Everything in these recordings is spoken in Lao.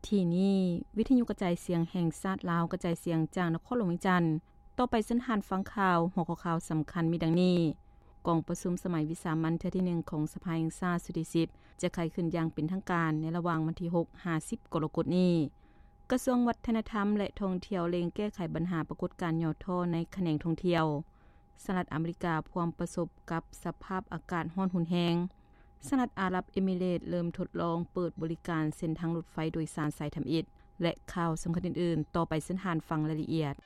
ທີ່ນີ້ ວິທະຍຸກະຈາຍສຽງແຫ່ງຊາດລາວ ກະຈາຍສຽງຈາກນະຄອນຫຼວງວຽງຈັນ. ຕໍ່ໄປເຊີນທ່ານຟັງຂ່າວ. ຫົວຂໍ້ຂ່າວສຳຄັນມີດັ່ງນີ້: ກອງປະຊຸມສະໄໝວິສາມັນເທື່ອທີໜຶ່ງຂອງສະພາແຫ່ງຊາດຊຸດທີສິບ ຈະໄຂຂຶ້ນຢ່າງເປັນທາງການໃນລະຫວ່າງວັນທີຫົກຫາສິບກໍລະກົດນີ້. ກະຊວງວັດທະນະທຳ ແລະ ທ່ອງທ່ຽວເລັ່ງແກ້ໄຂບັນຫາປາກົດການຫຍໍ້ທໍ້ໃນຂະແໜງທ່ອງທ່ຽວ. ສະຫະລັດອາເມລິກາພວມປະສົບກັບສະພາບອາກາດຮ້ອນຮຸນແຮງ. ສະຫະລັດອາຣັບເອມິເຣດເລີ່ມທົດລອງເປີດບໍລິການເສັ້ນທາງລົດໄຟໂດຍສານສາຍທຳອິດ ແລະ ຂ່າວສຳຄັນອື່ນໆ. ຕໍ່ໄປເຊີນທ່ານຟັງລາຍລະອຽດ.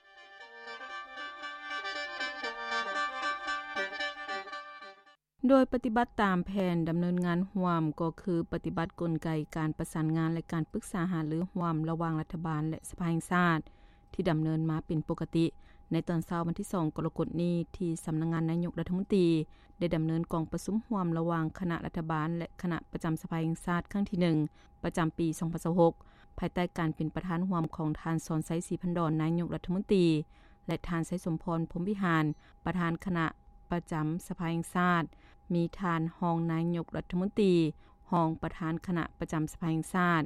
ໂດຍປະຕິບັດຕາມແຜນດຳເນີນງານຮ່ວມ ກໍຄືປະຕິບັດກົນໄກການປະສານງານ ແລະ ການປຶກສາຫາລືຮ່ວມລະຫວ່າງລັດຖະບານ ແລະ ສະພາແຫ່ງຊາດ ທີ່ດຳເນີນມາເປັນປົກກະຕິ. ໃນຕອນເຊົ້າວັນທີສອງກໍລະກົດນີ້ ທີ່ສຳນັກງານນາຍົກລັດຖະມົນຕີ ໄດ້ດຳເນີນກອງປະຊຸມຮ່ວມລະຫວ່າງຄະນະລັດຖະບານ ແລະ ຄະນະປະຈຳສະພາແຫ່ງຊາດຄັ້ງທີໜຶ່ງ ປະຈຳປີສອງພັນຊາວຫົກ ພາຍໃຕ້ການເປັນປະທານຮ່ວມຂອງທ່ານ ສອນໄຊ ສີພັນດອນ ນາຍົກລັດຖະມົນຕີ ແລະ ທ່ານ ໄຊສົມພອນ ພົມວິຫານ ປະທານຄະນະປະຈຳສະພາແຫ່ງຊາດ, ມີທ່ານຮອງນາຍົກລັດຖະມົນຕີ, ຮອງປະທານຄະນະປະຈຳສະພາແຫ່ງຊາດ,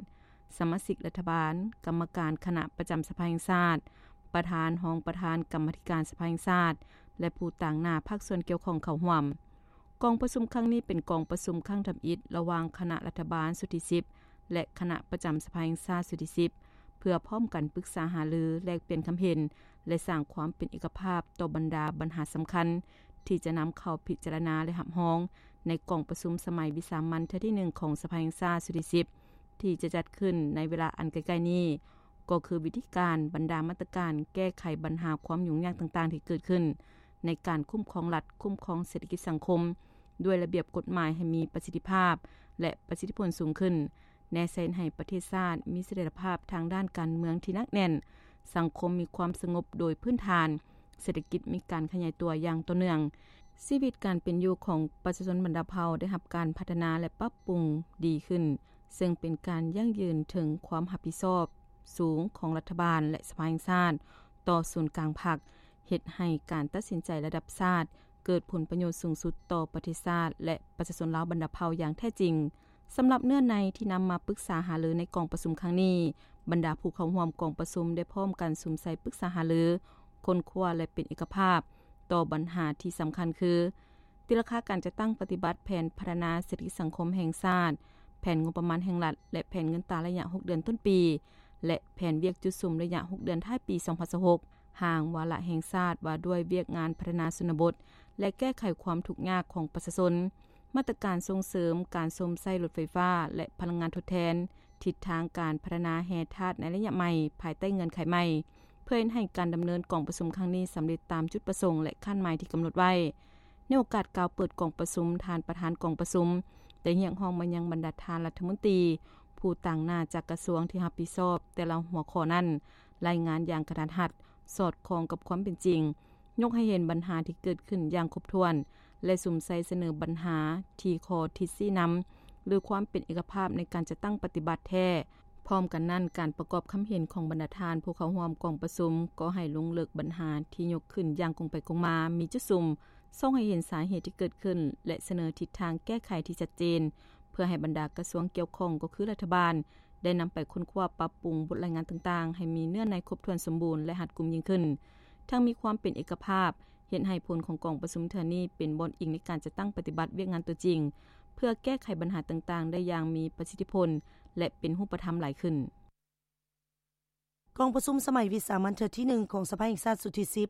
ສະມາຊິກລັດຖະບານ, ກຳມະການຄະນະປະຈຳສະພາແຫ່ງຊາດ, ປະທານ, ຮອງປະທານກຳມາທິການສະພາແຫ່ງຊາດ ແລະ ຜູ້ຕາງໜ້າພາກສ່ວນກ່ຽວຂ້ອງເຂົ້າຮ່ວມ. ກອງປະຊຸມຄັ້ງນີ້ເປັນກອງປະຊຸມຄັ້ງທຳອິດລະຫວ່າງຄະນະລັດຖະບານຊຸດທີສິບ ແລະ ຄະນະປະຈຳສະພາແຫ່ງຊາດຊຸດທີສິບ ເພື່ອພ້ອມກັນປຶກສາຫາລື, ແລກປ່ຽນຄຳເຫັນ ແລະ ສ້າງຄວາມເປັນເອກະພາບຕໍ່ບັນດາບັນຫາສຳຄັນ ທີ່ຈະນຳເຂົ້າພິຈາລະນາ ແລະ ຮັບຮອງໃນກອງປະຊຸມສະໄໝວິສາມັນເທື່ອທີໜຶ່ງຂອງສະພາແຫ່ງຊາດຊຸດທີສິບ ທີ່ຈະຈັດຂຶ້ນໃນເວລາອັນໃກ້ໆນີ້ ກໍຄືວິທີການ, ບັນດາມາດຕະການແກ້ໄຂບັນຫາຄວາມຫຍຸ້ງຍາກຕ່າງໆທີ່ເກີດຂຶ້ນໃນການຄຸ້ມຄອງລັດ, ຄຸ້ມຄອງເສດຖະກິດສັງຄົມ ດ້ວຍລະບຽບກົດໝາຍໃຫ້ມີປະສິດທິພາບ ແລະ ປະສິດທິຜົນສູງຂຶ້ນ, ແນໃສ່ໃຫ້ປະເທດຊາດມີສະຖຽນລະພາບທາງດ້ານການເມືອງທີ່ໜັກແໜ້ນ, ສັງຄົມມີຄວາມສະຫງົບໂດຍພື້ນຖານ, ເສດຖະກິດມີການຂະຫຍາຍຕົວຢ່າງຕໍ່ເນື່ອງ, ຊີວິດການເປັນຢູ່ຂອງປະຊາຊົນບັນດາເຜົ່າໄດ້ຮັບການພັດທະນາ ແລະ ປັບປຸງດີຂຶ້ນ, ເຊິ່ງເປັນການຢັ້ງຢືນເຖິງຄວາມຮັບຜິດຊອບສູງຂອງລັດຖະບານ ແລະ ສະພາແຫ່ງຊາດຕໍ່ສູນກາງພັກ, ເຮັດໃຫ້ການຕັດສິນໃຈລະດັບຊາດເກີດຜົນປະໂຫຍດສູງສຸດຕໍ່ປະເທດຊາດ ແລະ ປະຊາຊົນລາວບັນດາເຜົ່າຢ່າງແທ້ຈິງ. ສຳລັບເນື້ອໃນທີ່ນຳມາປຶກສາຫາລືໃນກອງປະຊຸມຄັ້ງນີ້, ບັນດາຜູ້ເຂົ້າຮ່ວມກອງປະຊຸມໄດ້ພ້ອມກັນສຸມໃສ່ປຶກສາຫາລື, ຄົ້ນຄວ້າ ແລະ ເປັນເອກະພາບຕໍ່ບັນຫາທີ່ສຳຄັນຄື ຕີລາຄາການຈັດຕັ້ງປະຕິບັດແຜນພັດທະນາເສດຖະກິດສັງຄົມແຫ່ງຊາດ, ແຜນງົບປະມານແຫ່ງລັດ ແລະ ແຜນເງິນຕາໄລຍະຫົກເດືອນຕົ້ນປີ ແລະ ແຜນວຽກຈຸດສຸມໄລຍະຫົກເດືອນທ້າຍປີສອງພັນຊາວຫົກ, ຮ່າງວາລະແຫ່ງຊາດວ່າດ້ວຍວຽກງານພັດທະນາຊົນນະບົດ ແລະ ແກ້ໄຂຄວາມທຸກຍາກຂອງປະຊາຊົນ, ມາດຕະການສົ່ງເສີມການຊົມໃຊ້ລົດໄຟຟ້າ ແລະ ພະລັງງານທົດແທນ, ທິດທາງການພັດທະນາແຮ່ທາດໃນໄລຍະໃໝ່ ພາຍໃຕ້ເງື່ອນໄຂໃໝ່, ເພື່ອເຮັດໃຫ້ການດຳເນີນກອງປະຊຸມຄັ້ງນີ້ສຳເລັດຕາມຈຸດປະສົງ ແລະ ຄາດໝາຍທີ່ກຳນົດໄວ້. ໃນໂອກາດກ່າວເປີດກອງປະຊຸມ, ທ່ານປະທານກອງປະຊຸມໄດ້ຮຽກຮ້ອງມາຍັງບັນດາທ່ານລັດຖະມົນຕີ, ຜູ້ຕາງໜ້າຈາກກະຊວງທີ່ຮັບຜິດຊອບແຕ່ລະຫົວຂໍ້ນັ້ນ ລາຍງານຢ່າງກະທັດຮັດ, ສອດຄ່ອງກັບຄວາມເປັນຈິງ, ຍົກໃຫ້ເຫັນບັນຫາທີ່ເກີດຂຶ້ນຢ່າງຄົບຖ້ວນ ແລະ ສຸມໃສ່ສະເໜີບັນຫາທີ່ຂໍ້ທິດຊີ້ນຳ ຫຼື ຄວາມເປັນເອກະພາບໃນການຈັດຕັ້ງປະຕິບັດແທ້. ພ້ອມກັນນັ້ນ, ການປະກອບຄຳເຫັນຂອງບັນດາທ່ານຜູ້ເຂົ້າຮ່ວມກອງປະຊຸມກໍໃຫ້ລົງເລິກບັນຫາທີ່ຍົກຂຶ້ນຢ່າງກົງໄປກົງມາ, ມີຈຸດສຸມ, ສ່ອງໃຫ້ເຫັນສາເຫດທີ່ເກີດຂຶ້ນ ແລະ ສະເໜີທິດທາງແກ້ໄຂທີ່ຊັດເຈນ, ເພື່ອໃຫ້ບັນດາກະຊວງກ່ຽວຂ້ອງ ກໍຄືລັດຖະບານ ໄດ້ນຳໄປຄົ້ນຄວ້າປັບປຸງບົດລາຍງານຕ່າງໆ ໃຫ້ມີເນື້ອໃນຄົບຖ້ວນສົມບູນ ແລະ ຮັດກຸມຍິ່ງຂຶ້ນ, ທັງມີຄວາມເປັນເອກະພາບ, ເຮັດໃຫ້ຜົນຂອງກອງປະຊຸມເທື່ອນີ້ເປັນບ່ອນອີງໃນການຈັດຕັ້ງປະຕິບັດວຽກງານຕົວຈິງ, ເພື່ອແກ້ໄຂບັນຫາຕ່າງໆໄດ້ຢ່າງມີປະສິດທິຜົນ ແລະ ເປັນຮູບປະທຳຫຼາຍຂຶ້ນ. ກອງປະຊຸມສະໄໝວິສາມັນເທື່ອທີໜຶ່ງຂອງສະພາແຫ່ງຊາດຊຸດທີສິບ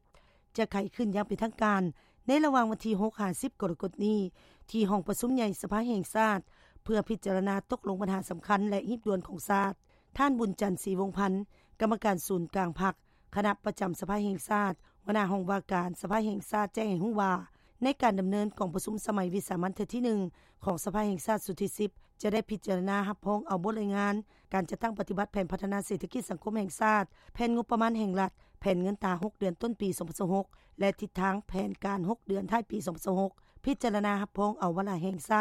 ຈະໄຂຂຶ້ນຢ່າງເປັນທາງການໃນລະຫວ່າງວັນທີຫົກຫາສິບກໍລະກົດນີ້ ທີ່ຫ້ອງປະຊຸມໃຫຍ່ສະພາແຫ່ງຊາດ ເພື່ອພິຈາລະນາຕົກລົງບັນຫາສຳຄັນ ແລະ ຮີບດ່ວນຂອງຊາດ. ທ່ານ ບຸນຈັນ ສີວົງພັນ ກຳມະການສູນກາງພັກ, ຄະນະປະຈຳສະພາແຫ່ງຊາດ, ຫົວໜ້າຫ້ອງວ່າການສະພາແຫ່ງຊາດ ແຈ້ງໃຫ້ຮູ້ວ່າ ໃນການດຳເນີນກອງປະຊຸມສະໄໝວິສາມັນເທື່ອທີໜຶ່ງຂອງສະພາແຫ່ງຊາດຊຸດທີສິບ ຈະໄດ້ພິຈາລະນາຮັບຮອງເອົາບົດລາຍງານການຈັດຕັ້ງປະຕິບັດແຜນພັດທະນາເສດຖະກິດສັງຄົມແຫ່ງຊາດ, ແຜນງົບປະມານແຫ່ງລັດ, ແຜນເງິນຕາຫົກເດືອນຕົ້ນປີສອງພັນຊາວຫົກ ແລະ ທິດທາງແຜນການຫົກເດືອນທ້າຍປີສອງພັນຊາວຫົກ, ພິຈາລະນາຮັບຮອງເອົາວາລະແຫ່ງຊາດ